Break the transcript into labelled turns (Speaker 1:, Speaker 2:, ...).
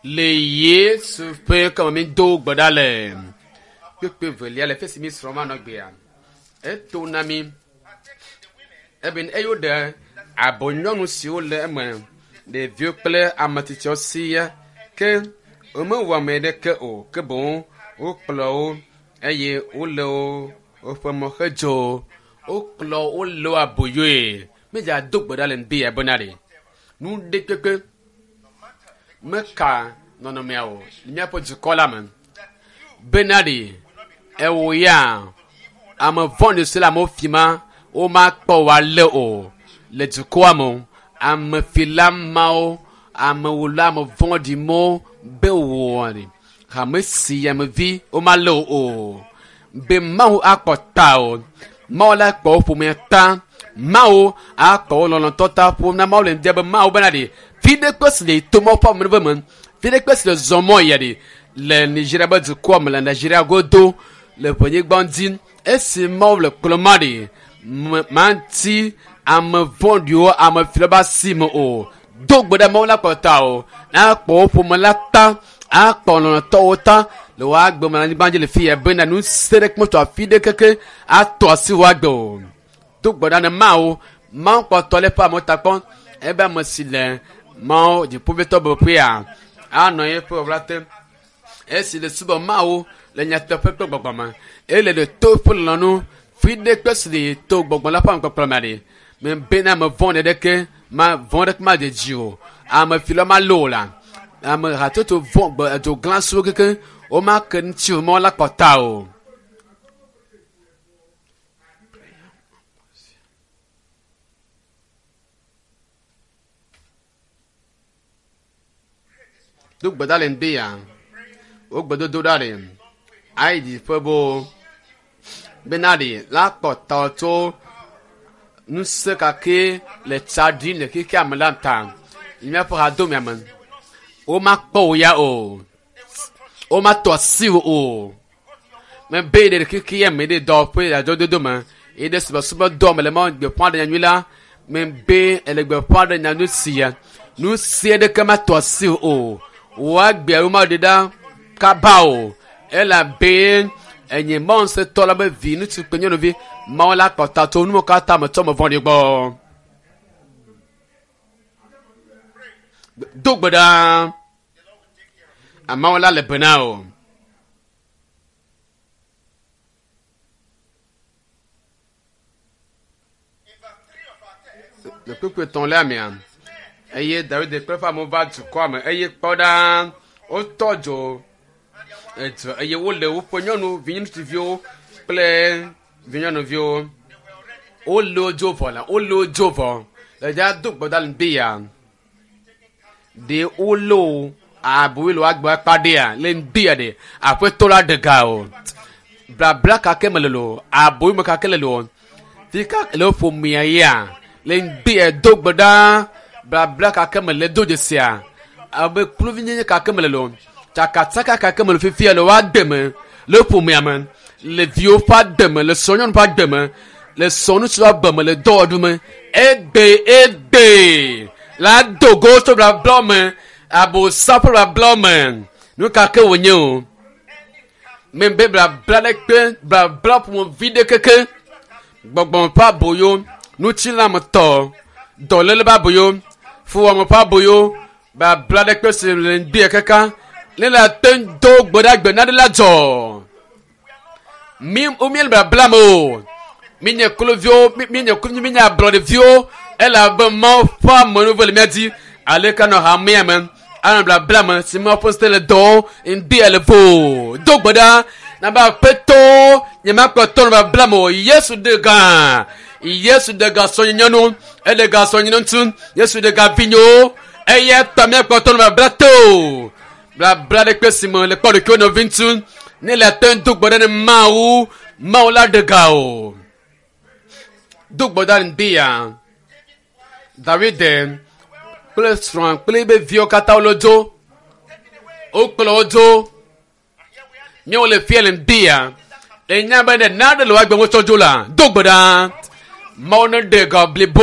Speaker 1: Le Yesu ƒe kame mi do gbe ɖa le. Kpekpe velia le fesi mi srɔ̃ ma nɔ gbea. Eto na mi. Ebe eyo ɖe abo nyɔnu siwo le eme ɖeviwo kple ame tsitsiwo siaa ke womewɔ ame ɖeke o ke boŋ wokplɔ wo eye wole wo woƒe mɔ hedzo. Wokplɔ wo le wo aboyoe. Mídza do gbe ɖa le ŋdi ya bena ɖe nu ɖe kpekpe meka nɔnɔmea o le míaƒe dukɔ la me bena ɖe ewo ya ame vɔ̃ɖi si le amewo fi ma womakpɔ wo alé o le dukɔa me o. Amefila mawo amewula ame vɔ̃ɖi mawo be wɔ ɖe hame si amevi womalé wo o be Mawu akpɔ ta o. Mawu la kpɔ wo ƒomea ta. Mawu akpɔ wo lɔlɔ̃tɔ ta ƒom na Mawu le ŋdi be Mawu bena ɖe fi ɖe kpe si le to Mawu ƒe amenuveve me fi ɖe kpe si le zɔ mɔ ya ɖe le Nigeria be dukɔa me le Nigeria godo le ʋenyigba dzi esi Mawu le kplɔ ma ɖe manti ame vɔ̃ɖiwo ame filawo be asi me o. Do gbe ɖe Mawu la kpɔ ta o. Akpɔ wo ƒome la ta akpɔ lɔlɔ̃tɔwo ta le wo agbe me le anyigba dzi le fi ya bena nu se ɖe kpɔtɔ afi ɖe keke atɔ asi wo agbe o. Do gbe ɖa ne Mawu Mawu kpɔtɔ le eƒe amewo ta kpɔm ebe ame si le Mawu dziƒoʋĩtɔ beƒea anɔ eƒe ɣaɣla te esi le subɔ Mawu le nyateƒe kple gbɔgbɔ me eye le ɖe to eƒe lɔlɔ̃nu fi ɖe kpe si le to gbɔgbɔ la ƒe amekpɔkplɔ me ɖe mebena ame vɔ̃ ɖeke ma vɔ̃ ɖeke ma dze dzi o ame filawo malé o la ame hatsotso vɔ̃ gbe edzo glãsuwo keke womake ŋuti o mɔ la kpɔ ta o. Do gbe ɖa le ŋdi ya wo gbedodo ɖa ɖe ayi dziƒe bo bena ɖe la kpɔ ta tso ŋusẽ kake le tsa ɖim le xexea me la ta le míaƒe hadomea me. Womakpɔ wò ya o. Womatɔ asi wò o. Mebe ɖe xexea me ɖe dɔwɔƒe le adzɔdodo me eye ɖe subɔsubɔdɔ me le Mawu gbeƒã ɖe nyanyui la mebe ele gbeƒã ɖe nyanyui sia. Nu sia ɖeke matɔ asi wò o. Wò agbea womaɖe ɖa kaba o elabe enye Mawu ŋusẽtɔ la be vi ŋutsu kple nyɔnuvi Mawu la kpɔ ta tso nuwo katã me tso ame vɔ̃ɖi gbɔ. Do gbe ɖa. Mawu la le be na wò. Le kpukpui etɔ̃lia mea, eye Dawid kple eƒe amewo va dukɔa me eye kpɔ ɖa wotɔ dzo edu eye wole woƒe nyɔnu viŋutsuviwo kple vinyɔnuviwo wole wo dzo vɔ la wole wo dzo vɔ le dza do gbe ɖa le ŋdi ya ɖe wole wo aboyo le woagbe akpa ɖea le ŋdi ya ɖe aƒetɔ la ɖe ga o blabla kake me le lo aboyo me kake le lo fika le ƒomea ya le ŋdi ya do gbe ɖa blabla kake me le do dzesia abe kluvinyenye kake me le lo tsakatsaka kake me le fifia le woade me le ƒomea me le viwo ƒe ade me le srɔ̃nyɔnu ƒe agbe me le srɔ̃ŋutsu ƒe agbe me le dɔwɔɖu me egbe egbe la do go tso blabla me abosa ƒe blabla me nu ka ke wònye o mebe blabla ɖe kpe blabla ƒomevi ɖe keke gbɔgbɔ ƒe aboyo ŋutilãmetɔ dɔléle ƒe aboyo fuwɔame ƒe aboyo blabla ɖe kpe si le ŋdi kaka ne le ate ŋu do gbe ɖa gbe naɖe la dzɔ mi míele blabla me o míenye kluviwo míenye kluvi míenye ablɔɖeviwo elabe Mawu ƒe amenuveve le mía dzi ale ke nɔ hamea me anɔ blabla me si Mawu ƒe ŋusẽ le dɔwɔm ŋdi le vo do gbe ɖa nabe aƒetɔ nyemakpɔtɔ nɔ blabla me o Yesu ɖe gã Yesu ɖe gã sɔnye nyɔnu eɖe gã sɔnye ŋutsu Yesu ɖe gã vinyewo eya ta míakpɔtɔ nɔ blabla te o blabla ɖe kpe si me le kpɔ ɖokuiwo nɔvi ŋutsu ne le ate ŋu do gbe ɖa ne Mawu Mawu la ɖe ga o do gbe ɖa ŋdi ya Dawid kple srɔ̃a kple ebe viwo katã wole dzo wokplɔ wo dzo míawo le fia le ŋdi ya enya be ɖe naɖe le woagbe wotsɔ dzo la do gbe ɖa Mawu ne ɖe ga blibo.